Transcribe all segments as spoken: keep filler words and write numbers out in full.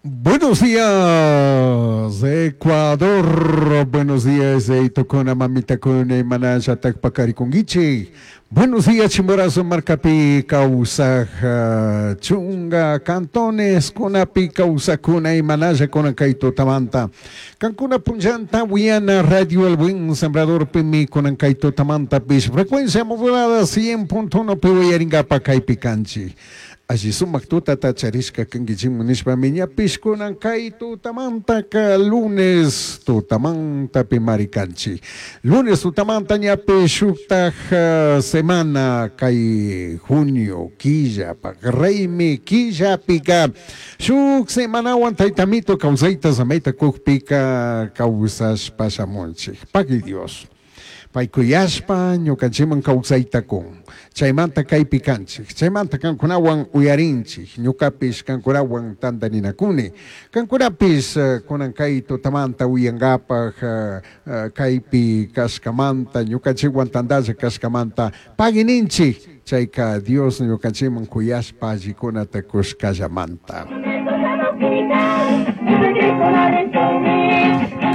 Buenos días, Ecuador. Buenos días, Itokuna, Mamitakuna, Imanalla, Pacarikunguichi. Buenos días, Chimborazo, Marcapi, Causaj, Chunga, Cantones, Kunapi, Causacuna, Imanalla, Kunankaito, Tamanta. Cancuna, Punllanta, Huyana, Radio El Buen Sembrador, Pimi, Kunankaito, Tamanta, Pish, frecuencia modulada cien punto uno, Pihuayaringapa, Caipicanchi. Alli sumak tutata charishka kankichikman nishpami ñapish kunan kay tutamantaka lunes tutamantapi marikanchik. Lunes tutamanta ñapish shuktaj semana kay junio killapak raymi killapika shuk semanawan taytamito kawsayta samayta kukpika kawsashpa shamunchik. Paqui Dios. Paykuyashpa ñukanchikman kawsayta kun. Chaymanta kaypi kanchik, chaymanta kankunawan uyarinchik, ñukapish kankunawan tantaninakuni. Kankunapish kunan kay tutamanta uyankapaj kaypi kashkamanta, ñukanchikwan tantalla kashkamanta pagininchik, chayka Dios ñukanchikman kuyashpa allikunata kushkallamanta.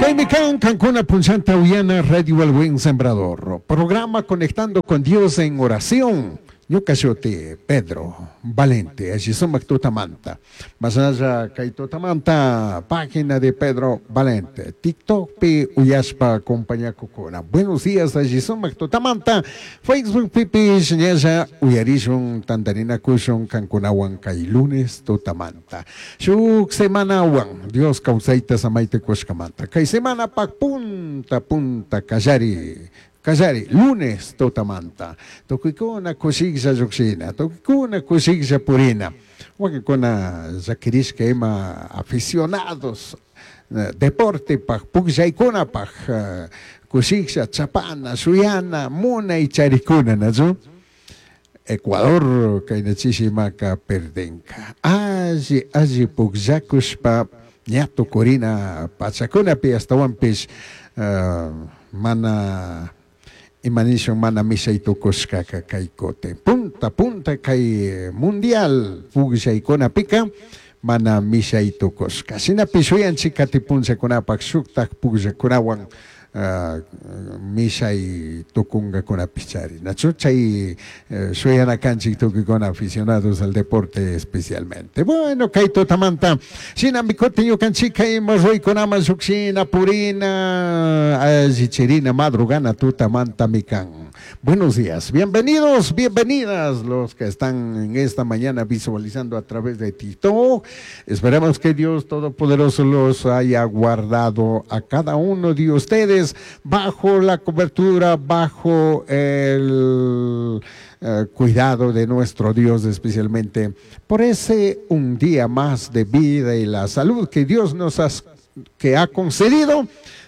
Kaymi kan kankuna punchanta uyana Radio El Buen Sembrador. Programa Conectando con Dios en Oración. Ñuka shuti Pedro Valente, allí sumak tutamanta. Más allá kay tutamanta, página de Pedro Valente. TikTok pi uyashpa compañakukuna. Buenos días, allí sumak tutamanta. Facebook pipi ñalla uyarishun tantarina kushun kankunawan kay lunes tutamanta. Shuk semanawan Dios kawsayta samayta kushkamanta. Kay semana pak punta punta kallari. Kallari, lunes tutamanta. Tukuykuna kushiklla lluqshina, tukuykuna kushiklla purina. Wakinkuna llakirishka ima aficionados deportepaj, pukllaykunapaj, kushiklla chapana, shuyana, munay charikuna, ¿nachu? Ecuador kaynachishimaka perdenka. Alli, alli pukllakushpa ña tukurina pachakunapi astawanpish mana imanishun mana mishay tukushkaka kay kutin. Punta, punta kay mundial pukllaykunapika mana mishay tukushka. Shinapish shuyanchik katipunchakunapak shuktak pukllakunawan mishay tukungakunapish chari. Nachu chay shuyana kanchik tukuykuna aficionados al deporte especialmente. Bueno, kay tutamanta shinami kutin ñukanchik ima ruykunaman shukshina purina allichirina madrugana tutamantami kan. Buenos días, bienvenidos, bienvenidas los que están en esta mañana visualizando a través de TikTok. Esperamos que Dios Todopoderoso los haya guardado a cada uno de ustedes bajo la cobertura, bajo el eh, cuidado de nuestro Dios, especialmente por ese un día más de vida y la salud que Dios nos ha, que ha concedido,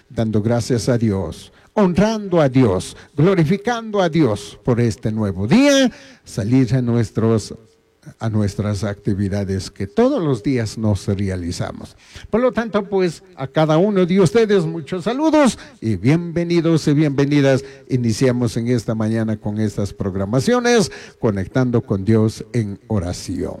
dando gracias a Dios, honrando a Dios, glorificando a Dios por este nuevo día, salir a nuestros a nuestras actividades que todos los días nos realizamos. Por lo tanto, pues, a cada uno de ustedes muchos saludos y bienvenidos y bienvenidas. Iniciamos en esta mañana con estas programaciones, Conectando con Dios en Oración.